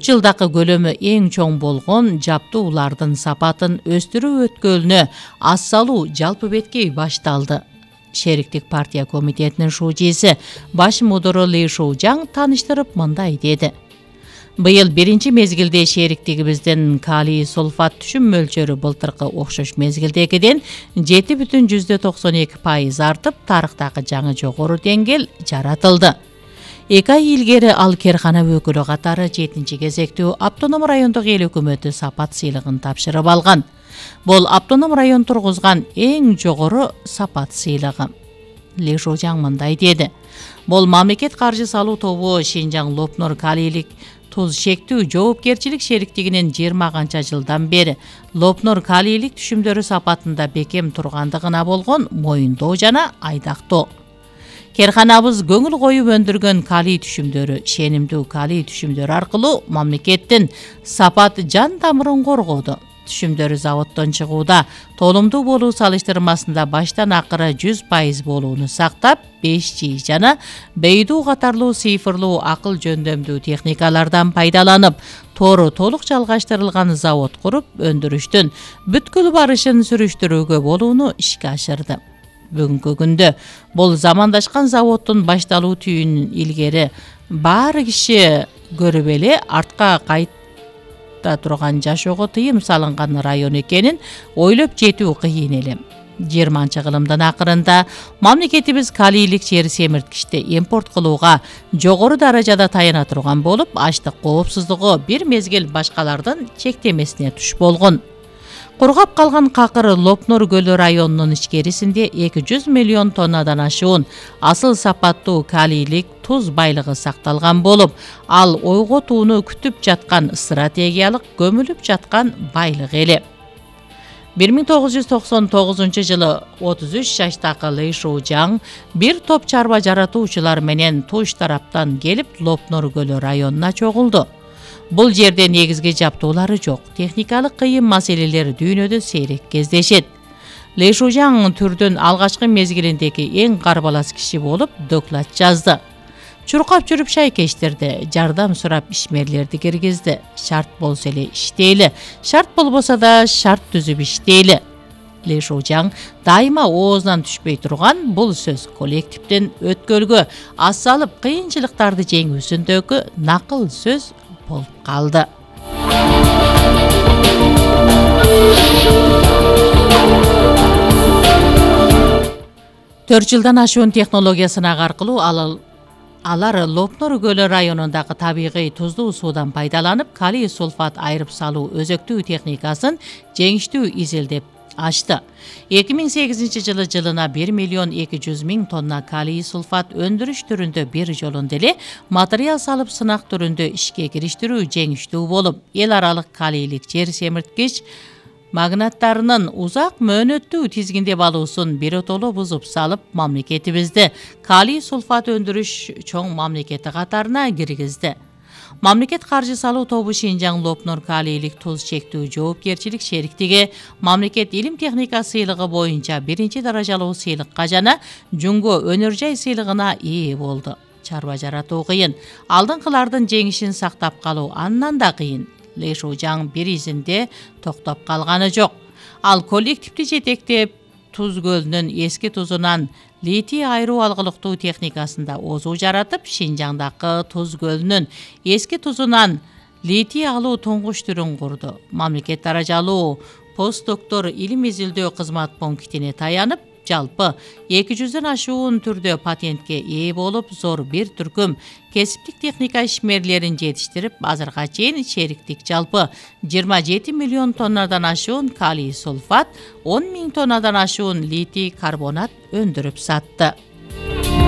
жылдакы көлөмү эң чоң болгон жаптуулардын сапатын өстүрүү өткөлүнө ас салуу жалпы беткей башталды. Шериктик партия комитетинин шужиси баш мудуру Ли Шужаң таныштырып мындай деди. Быйыл биринчи мезгилде шериктигибиздин калий сульфат түшүм мөлчөрү былтыркы окшош мезгилдегиден 7,92% артып, тарыхтагы жаңы жогору деңгэл жаратылды. 2 ай илгери ал керкана өкүлү катары 7-чи кезектүү автоном райондук эл өкмөтү сапат сыйлыгын тапшырып алган. Бул автоном район тургузган эң жогору сапат сыйлыгы. Ли Шужаң мындай деди. Бул мамлекет каржы салуу тобу Шинжаң Лопнур калийлик туз шектүү жоопкерчилик шериктигинин 20 канча жылдан бери Лопнур калийлик түшүмдөрү сапатында бекем тургандыгына болгон моюндоо жана айдактоо. Керканабыз көңүл коюп өндүргөн калий түшүмдөрү, шенимдүү калий түшүмдөрү аркылуу мамлекеттин сапат жан тамырын коргоду. Түшүмдөрү заводдон чыгууда толумдуу болуу салыштырмасында баштан акыры 100% болууну сактап, 5G жана бейдүү катарлуу цифрлуу акыл жөндөмдүү техникалардан пайдаланып, тоору толук жалгаштырылган завод куруп, өндүрүштүн бүткүл барышын сүрүштүрүүгө болууну ишке ашырды. Бүгүнкү күндө бул замандашкан заводдун башталуу түйүнүн илгери баары киши көрүп эле артка кайта турган жашоого тыйым салынган район экенин ойлоп жетүү кыйын эле. 20-кылымдын акырында мамлекетибиз калийлик жер семирткичти импорт кылууга жогору даражада таяна турган болуп, ачлык коопсуздугу бир мезгил башкалардын чектемесине туш болгон. Кургап калган какыр Лопнур көлү районунун ичкерисинде 200 миллион тоннадан ашуун асыл сапаттуу калийлик туз байлыгы сакталган болуп, ал ойготууну күтүп жаткан стратегиялык көмүлүп жаткан байлык эле. 1999 жылы 33 жаштагы Ли Шужаң бир топ чарба жаратуучулар менен туш тараптан келип Лопнур көлү районуна чогулду. Бул жерде негизги жаптуулары жок, техникалык кыйын маселелер дүйнөдө сейрек кездешет. Ли Шужаң түрдүн алгачкы мезгилиндеги эң карбалас киши болуп доклад жазды. Чуркап жүрүп шайкештирди, жардам сурап ишмерлерди киргизди. Шарт болсо эле иштейли, шарт болбосо да шарт түзүп иштейли. Ли Шужаң дайыма оозунан түшпөй турган бул сөз коллективдин өткөлгө ас салып кыйынчылыктарды жеңүүсүндөгү накыл сөз болуп калды. 4 жылдан ашуун технология сынак аркылуу алар Лопнур көлү районундагы табигый туздуу суудан пайдаланып, калий сульфат айырып салуу өзөктүү техникасын жеңиштүү изилдеп ашты. 2008 жылы жылына 1,2 миллион тонна калий сульфат өндүрүш түрүндө бир жолунда эле материал салып сынак түрүндө ишке кириштирүү жеңиштүү болуп, эл аралык калийлик жер семирткич магнаттарынын узак мөөнөттүү тизгиндеп алуусун биротоло бузуп салып, мамлекетибизди калий сульфат өндүрүш чоң мамлекети катарына киргизди. Мамлекет каржы салуу тобу Шинжаң Лопнур калийлик туз чектүү жоопкерчилик шериктиги мамлекет илим техника сыйлыгы боюнча биринчи даражалуу сыйлыкка жана Жунго өнөр жай сыйлыгына ээ болду. Чарба жаратуу кыйын, алдыңкылардын жеңишин сактап калуу андан да кыйын. Ли Шужаң бир изинде токтоп калганы жок. Ал коллективди жетектеп, Туз көлүнүн эски тузунан литий айыруу алгылыктуу техникасында озуу жаратып, Шинжаңдагы Туз көлүнүн эски тузунан литий алуу туңгуч түрүн курду. Мамлекет даражалуу постдоктор илим изилдөө кызмат пунктине таянып, жалпы 200дөн ашуун түрдө патентке ээ болуп, зор бир түркүм кесиптик техника ишмерлерин жетиштирип, азырга чейин шериктик жалпы 27 миллион тоннадан ашуун калий сульфат, 10 000 тоннадан ашуун литий карбонат өндүрүп сатты.